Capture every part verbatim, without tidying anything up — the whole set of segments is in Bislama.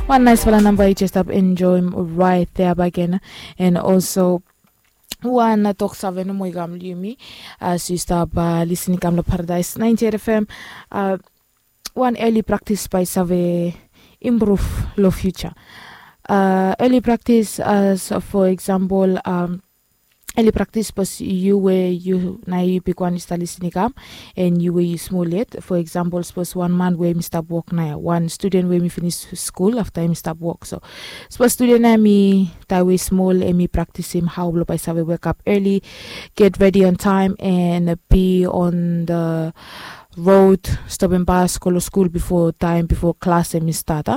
Wan naisfala namba i jes stap enjoim rait thea bagen. And also wan toksave nomo i kam long yumi as yu stap lisin i kam long Paradise ninety-eight F M. Wan eli praktis bae i save improve long future. Eli praktis as for example, eli praktis sapos yu we yu na yu bigwan yu stap lisin i kam, and yu we yu smol yet. For example, sapos wan man we mi stap wok na ya, wan studen we mi finis skul afta mi stap wok. So sapos studen na mi taem we i smol, em i praktisim hao blong bae i save wekap eli, get redi on taem, and bi on the rod, stopim bas, go long skul bifo taem, bifo klas em i stat.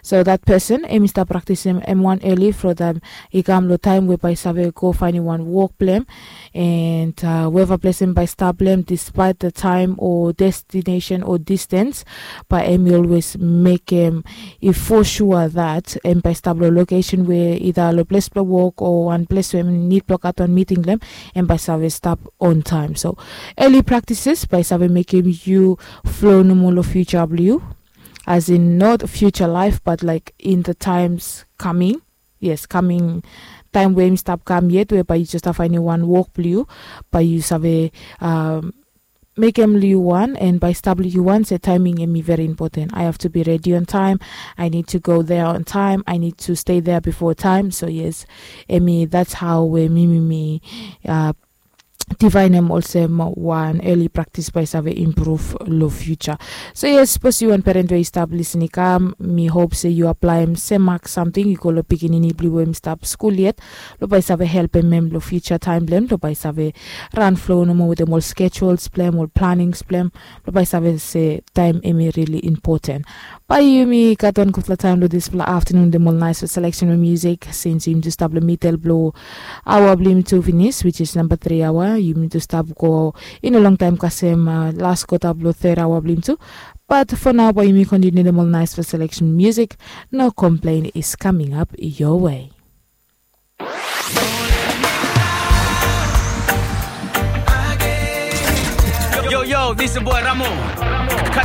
So that person em i stap praktisim em wan eli from taem i kam long taem we bae i save go faenem wan wok blong em, and weva ples em bae i stap long em, despite the taem o destination o distance, bae em i olwes mekem i fosua that em bae i stap long lokesen we ida long ples blong wok o wan ples we em nid blong gat wan miting long em, em bae i save stap on taem. So eli praktisis bae i save mekem yu flo nomo long future blong yu, as in not future life but like in the times coming. Yes, coming taem we em i stap kam yet we bae yu jes stap faenem wan wok blong yu, bae yu save mekem long yu wan and bae i stap long yu wan se taeming em i very important. I have to be ready on time. I need to go there on time. I need to stay there before time. So yes, em i that's how we mi mi mi divaenem olsem wan eli praktis bae i save improve long future. So yes, sapos yu wan peren we i stap lisin i kam, mi hop se yu aplaem sem mak samting i go long pikinini blong yu we em i stap skul yet, blong bae i save helpem em long future taem blong em, blong bae i save ran flo nomo wetem ol schedules blong em, ol planings blong em, blong bae i save se taem em i rili impoten. Bae yumi gat wan gudfala taem long disfala aftenun wetem ol naesfala seleksen blong musik, sins yumi tu stap long midel blong aoa blong yumi tu finis, which is namba tri aoa. Yumi tu stap go i no longtaem kasem las kota blong third aoa blong yumi tu. But for now bae yumi kontiniu wetem ol naesfala seleksen musik. No Complain is coming up your way. Yo, yo, this is boy Ramo.